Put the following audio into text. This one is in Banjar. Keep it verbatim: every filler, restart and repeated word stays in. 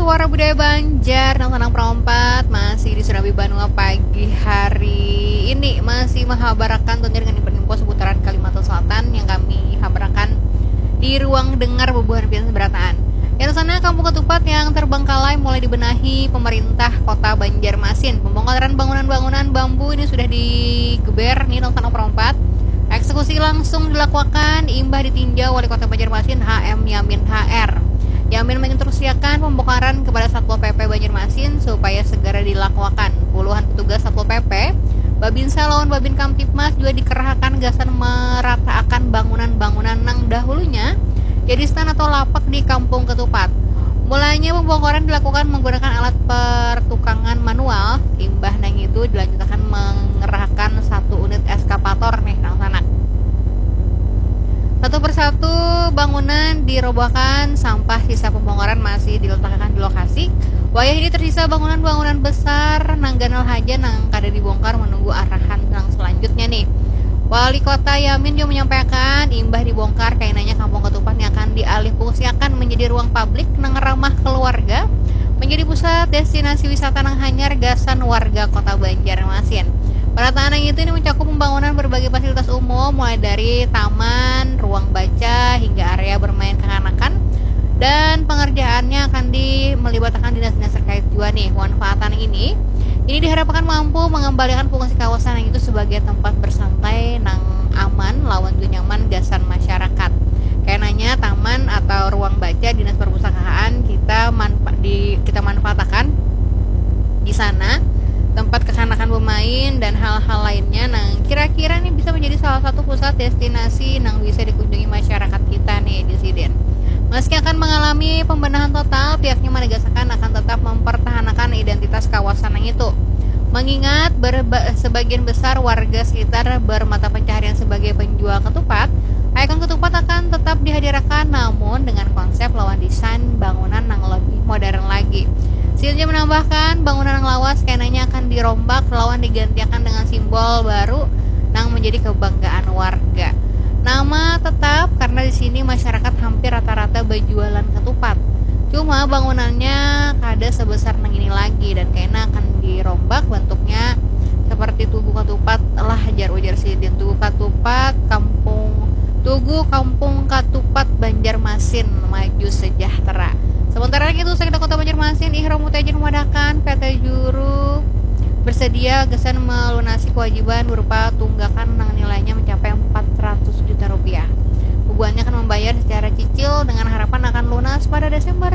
Wara budaya Banjar nang sanang perompat masih di Serambi Banua pagi hari ini, masih menghabarakan tentunya dengan info-info seputaran Kalimantan Selatan yang kami habarakan di ruang dengar bubuhan pian seberataan. Yang sana, Kampung Ketupat yang terbengkalai mulai dibenahi pemerintah kota Banjarmasin. Pembongkaran bangunan-bangunan bambu ini sudah digeber nih nang sanang perompat. Eksekusi langsung dilakukan imbah ditinjau Wali Kota Banjarmasin H M Yamin H R. Yamin menginstruksiakan pembongkaran kepada Satpol P P Banjarmasin supaya segera dilakukan. Puluhan petugas Satpol P P, Babinsa lawan Babin Kamtibmas juga dikerahakan gasan merataakan bangunan-bangunan nang dahulunya jadi stand atau lapak di Kampung Ketupat. Mulanya pembongkaran dilakukan menggunakan alat pertukangan manual, imbah nang itu dilanjutakan mengerahakan satu unit eskavator nih nang sanak. Satu persatu bangunan dirobohkan, sampah sisa pembongkaran masih diletakkan di lokasi. Wayah ini tersisa bangunan-bangunan besar nang ganal haja nang kada dibongkar menunggu arahan nang selanjutnya nih. Wali Kota Yamin juga menyampaikan, imbah dibongkar, kainanya Kampung Ketupat ni akan dialih fungsiakan menjadi ruang publik nang ramah keluarga, menjadi pusat destinasi wisata nang hanyar gasan warga Kota Banjarmasin. Penataan yang itu ini mencakup pembangunan berbagai fasilitas umum, mulai dari taman, ruang baca, hingga area bermain kekanakan, dan pengerjaannya akan di, melibatkan dinas-dinas terkait juga nih. Manfaatan ini, ini diharapkan mampu mengembalikan fungsi kawasan yang itu sebagai tempat bersantai nang aman lawan juga nyaman gasan masyarakat. Kainanya taman atau ruang baca dinas perpustakaan kita manfa-, di, kita manfaatakan di sana, tempat kekanakan bermain dan hal-hal lainnya nang kira-kira nih bisa menjadi salah satu pusat destinasi nang bisa dikunjungi masyarakat kita nih di sidin. Meski akan mengalami pembenahan total, pihaknya menegaskan akan tetap mempertahankan identitas kawasan yang itu. Mengingat berba-, sebagian besar warga sekitar bermata pencaharian sebagai penjual ketupat, ikon ketupat akan tetap dihadirkan, namun dengan konsep lawan desain bangunan yang lebih modern lagi. Sidin menambahkan, bangunan yang lawas kainanya akan dirombak lawan digantikan dengan simbol baru nang menjadi kebanggaan warga. Nama tetap karena di sini masyarakat hampir rata-rata berjualan ketupat. Cuma bangunannya kada sebesar nang ini lagi dan kaina akan dirombak bentuknya seperti Tugu Ketupat lah, jar ujar sidin. Tugu Ketupat, Kampung Tugu Kampung Ketupat Banjarmasin maju sejahtera. Sementara itu, Sekda Kota Banjarmasin, Ihram Mutaijin, memadahkan P T Juru bersedia gasan melunasi kewajiban berupa tunggakan nang nilainya mencapai empat ratus juta rupiah. Bubuhannya akan membayar secara cicil dengan harapan akan lunas pada Desember